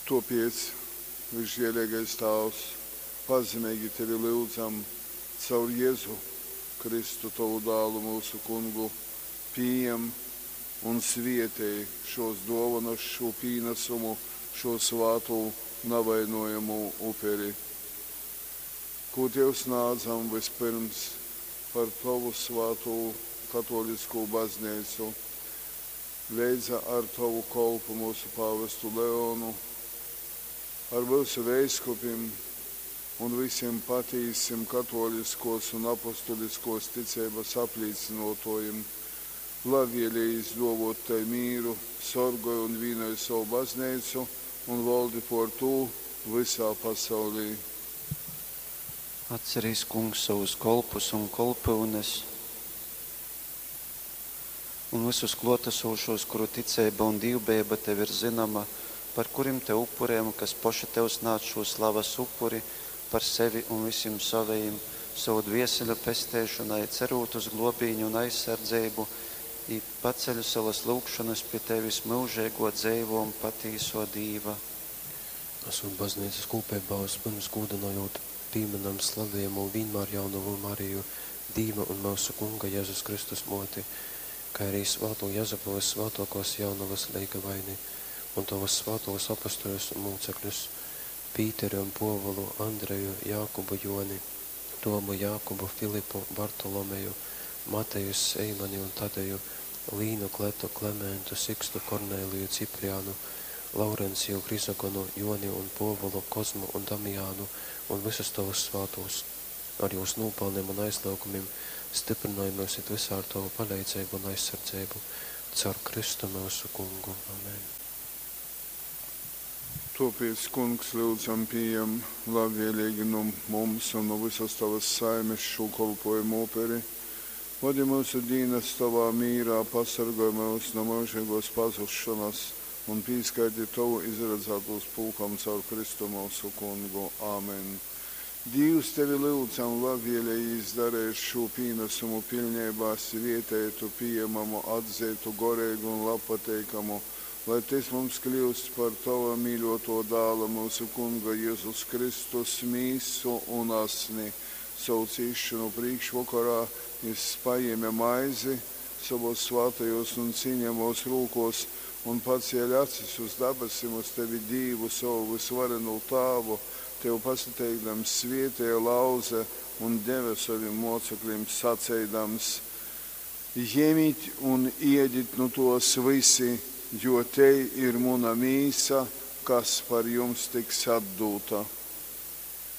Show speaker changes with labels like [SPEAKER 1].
[SPEAKER 1] Tōpēc, vysžēleigais Tāvs, pazemeigi tevi lyudzam, caur Jezu Kristu, tovu Dālu, myusu Kungu, pījem un svētej šōs dōvonas, šū pīnasumu, šū svātū, navainojamū uperi, kū tev snādzam vyspyrms par tovu svātū katōliskū bazneicu, leidza ar tovu kolpu, myusu pāvestu Leonu, ar myusu veiskupim un vysim patīsim katōliskōs un apostuliskōs ticeibas aplīcynōtōjim. Labvēlejīs dōvōt tai mīru, sorgoj un vīnoj sovu bazneicu un voldi pōr tū vysā pasaulī.
[SPEAKER 2] Atcerīs, Kungs, sovus kolpus un kolpyunes un vysus klōtasūšūs, kuru ticeiba un dīvbejeiba tev ir zynoma, par kurim tev upurejam, kas poši tev snādz šū slavas upuri par sevi un vysim sovejim, sovu dvieseļu pesteišonai, cerūt uz glōbīni un aizsardzeibu, i paceļ sovas lyugšonas pi tevis, myužeigō, dzeivō un patīsō Dīva.
[SPEAKER 3] Asūt bazneicas kūpeibā, vyspyrms gūdynojūt, pīmynam slavejamū Vīnmārjaunovu Mariju, Dīva un myusu Kunga Jezus Kristus Mōti, kai arī svātū Jezupu vyssvātōkōs Jaunovas leigavaini un tovus svātūs apostoļus un mūcekļus, Pīteri un Pōvulu, Andreju, Jākubu, Jōni, Tomu, Jākubu, Filipu, Bartolomeju, Mateju, Seimani un Tadeju, Līnu, Kletu, Klementu, Sikstu, Korneliju, Ciprianu, Laurenciju, Hrizogonu, Jōni un Pōvulu, Kozmu un Damianu un vysus tovus svātūs, ar jūs nūpalnim un aizlyugumim styprynoj myus it vysā ar tovu paleidzeibu un aizsardzeibu. Caur Kristu myusu Kungu. Amen.
[SPEAKER 1] Tōpēc, Kungs, lyudzam, pījem labvēleigi nu mums un nu vysas tovas saimes šū kolpōjumu uperi. Vodi myusu dīnas tovā mīrā, pasorgoj myus nu myužeigōs pazusšonas un pīskaiti tovu izradzātūs pulkam caur Kristu myusu Kungu. Amen. Dīvs, tevi lyudzam, labvēlejīs dareit šū pīnasumu piļneibā svēteitu, pījemamu, atzeitu, goreigu un labpateikamu, lai tys mums kļyust par tova mīļōtō Dāla, myusu Kunga Jezus Kristus mīsu un asni. Sovu cīsšonu prīškvokorā jys pajēme maizi sovōs svātajōs un cīnejamōs rūkōs un, pacēle acis uz dabasim, uz tevi, Dīvu, sovu vysvarenū Tāvu, tev pasateikdams, svēteja, lauze un deve sovim mōceklim, saceidams, Jemit un ēdit nu tōs vysi, jo tei ir muna mīsa, kas par jums tiks atdūta.